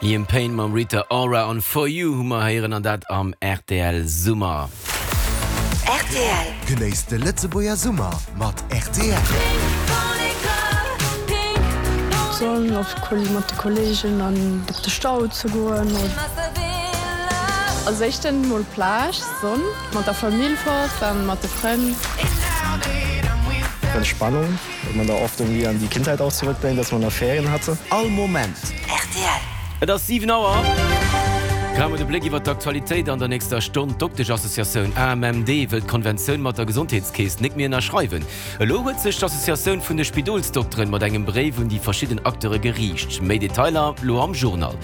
Liam Payne mam Rita Ora an For You hu mer héieren an dat am rtl Summer. Rtl. Genéisst de Lëtzebuerger Summer mat rtl. D'Sonn, of mat de Kollegen an op de Stau ze goen. Als éischten mol Plage, Sonn, mat der Famill fort an mat de Frënn. Entspannung. Wenn man da oft irgendwie an die Kindheit auch zurückdenkt, dass man da Ferien hatte. All Moment. Rtl. Et ass 7 Auer. Grad mol de Bléck iwwer d'Aktualitéit an der nächster Stonn. D'Doktesch-Associatioun AMMD wëll d'Konventioun mat der Gesondheetskeess nik méi ënnerschreiwen. Elo huet sech d'Associatioun vun de Spidolsdokteren mat engem Bréif un déi verschidden Acteure geriicht. Méi Detailer lo am Journal.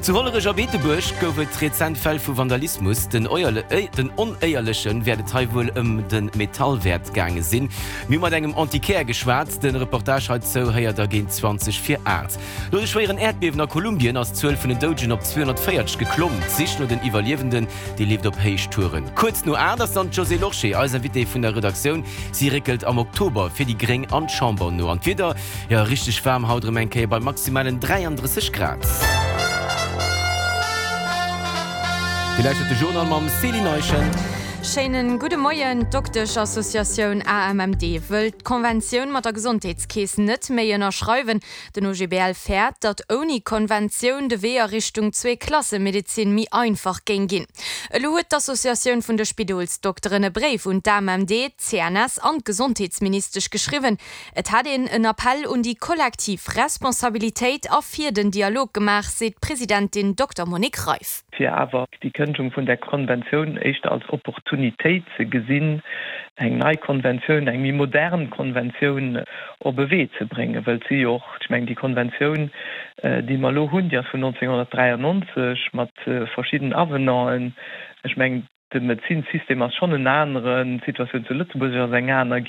Zu Hollerech a Beetebuerg gouf et rezent Fäll vu Vandalismus. Den Onéierleche wäert et hei wuel ëm de Metallwäert gaange sinn. Mir hu mat engem Antiquaire geschwat. De Reportage heizou héiert der géint 20 vir 8. No de schwéieren Äerdbiewen a Kolumbien ass d'Zuel vun den Doudegen op 240 geklomm. D'Sich no den Iwwerliewenden, déi leeft op Héichtouren. Kuerz no 8 ass dann d'Josée Lorsché eis Invitée vun der Redaktioun. Si réckelt am Oktober fir déi Gréng an d'Chamber no. An d'Wieder, jo richteg waarm haut erëm eng Kéier bei maximalen 33 Grad. Dir lauschtert de Journal mam Céline Eischen. Schéinen gudde Moien. D'Doktesch-Associatioun AMMD wëll d'Konventioun mat der Gesondheetskeess net méi ënnerschreiwen. Den OGBL fäert, datt ouni Konventioun de Wee a Richtung Zweeklassemedezin méi einfach géing ginn. Elo huet d'Associatioun vun de Spidolsdokteren e Bréif un d'AMMD, d'CNS an d'Gesondheetsministesch geschriwwen. Et hätt een en Appell un déi kollektiv Responsabilitéit a fir den Dialog gemaach, seet d'Presidentin Dokter Monique Reiff. fir awer déi Kënngung vun där Konventioun éischter als Opportunitéit ze gesinn, eng nei Konventioun, eng méi modern Konventioun op e Wee ze bréngen, wëll et si jo och, ech mengen, déi Konventioun, déi mer elo hunn, déi ass vun 1993 mat verschidden Avenanten. Ech mengen, de Medezinssystem ass schonn en aneren, d'Situatioun zu Lëtzebuerg ass eng aner.